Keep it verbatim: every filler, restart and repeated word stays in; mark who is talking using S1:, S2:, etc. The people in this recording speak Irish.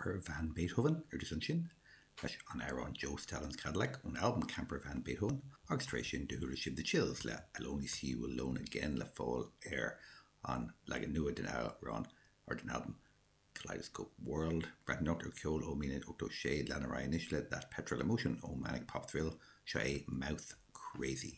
S1: Camper Van Beethoven ar dtús ansin leis an amhrán Joe Stalin's Cadillac ón albam Camper Van Beethoven agus tar éis sin do chuala sibh The Chills le I'll Only See You Alone Again le fáil ar an leagan nua den amhrán ar den albam Kaleidoscope World. Breathnóir ar ceol ó míle ochtó sé lena anois le That Petrol Emotion ó Manic Pop Thrill seo é Mouth Crazy.